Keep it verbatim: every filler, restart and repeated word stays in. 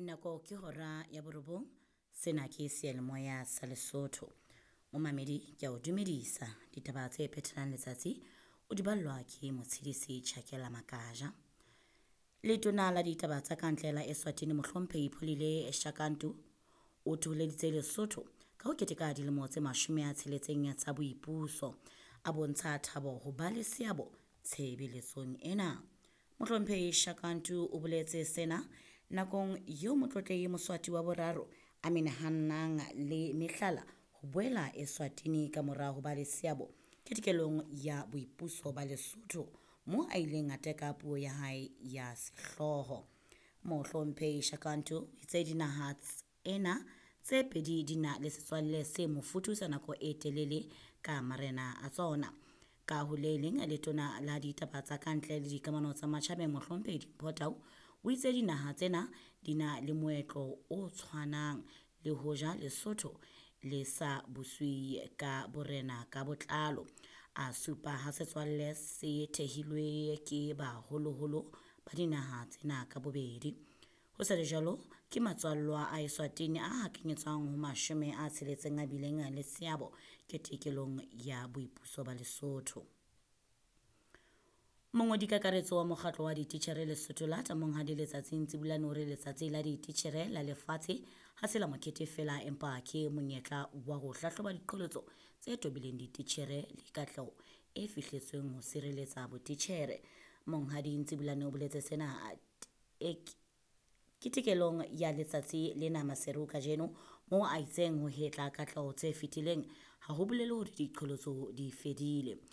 Nako ke hora ya borobong. Sena ke seyalemoya sa Lesotho. Momamedi, ke a o dumedisa. Ditaba tse phethelang letsatsi o di ballwa ke Motshidisi Chakela Makaja. Letona la ditaba tsa kantle la Eswatini Mohlomphehi Pholile Shakantu o thoholeditse Lesotho ka ho keteka dilemo tse mashome a tsheletseng tsa boipuso. A bontsha thabo ho ba le seabo tshebeletsong ena. Mohlomphehi Shakantu o boletse sena nakong eo Motlotlehi Moswati wa boraro a menahanang le mehlala ho boela Eswatini ka mora ho ba le seabo ketekelong ya boipuso ba Lesotho moo a ileng a teka puo ya hae ya sehlooho. Mohlomphehi Shakantu o itse dinaha ena tse pedi di na le setswalle se mofuthu sa nako e telele ka marena a tsona. Ka ho le leng, letona la ditaba tsa kantle le dikamano tsa matjhabeng Mohlomphehi Dimpho Tau o itse dinaha tsena di na le moetlo o tshwanang le hoja Lesotho le sa buswe ka borena ka botlalo. A supa ha setswalle se thehilwe ke baholoholo ba dinaha tsena ka bobedi. Ho sa le jwalo, ke matswallwa a Eswatini a hakanyetswang ho mashome a tsheletseng a bileng le seabo ketekelong ya boipuso ba Lesotho. Mongodi kakaretso wa mokgatlo wa dititjhere Lesotho Lata Monghadi Letsatsi Ntsibulane o re letsatsi la dititjhere la lefatshe ha se la mokete feela empa ke monyetla wa ho hlahloba diqholotso tse tobileng dititjhere le katleho e fihletsweng ho sireletsa botitjhere. Monghadi Ntsibulane o boletse sena e ketekelong ya letsatsi lena Maseru kajeno moo a itseng ho hetla katleho tse fetileng ha ho bolele hore diqholotso di fedile.